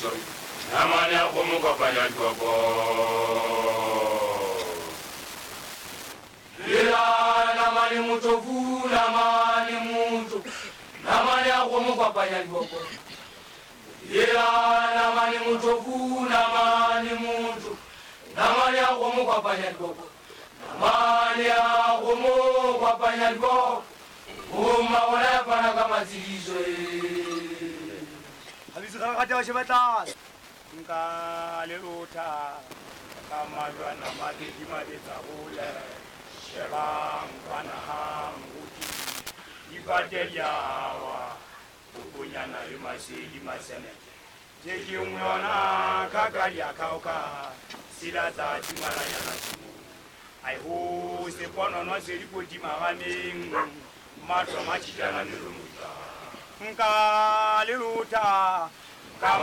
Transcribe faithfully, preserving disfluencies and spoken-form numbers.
Motho namane a kgomo kopanya diboko. Lela namane motho, namane motho, namane a kgomo kopanya diboko. Lela namane motho, namane motho, namane a kgomo kopanya diboko. Namane a kgomo kopanya diboko. Bomma bona ya fana ka matsediso e. Habitse ga ga taba sheba tlase. Nka le lotha ka majwana mabedi mabetsa hole. Shebang kwana ha moruti difate di a wa, bokonyana le masedi maseneke. Tse ke nngwe yona ka ka di a khaoka, sila tsa timalanyana tshimong. Ai ho seponono se dikoti marameng, mahlo a matjhitana melomotla. Nka le lotha ka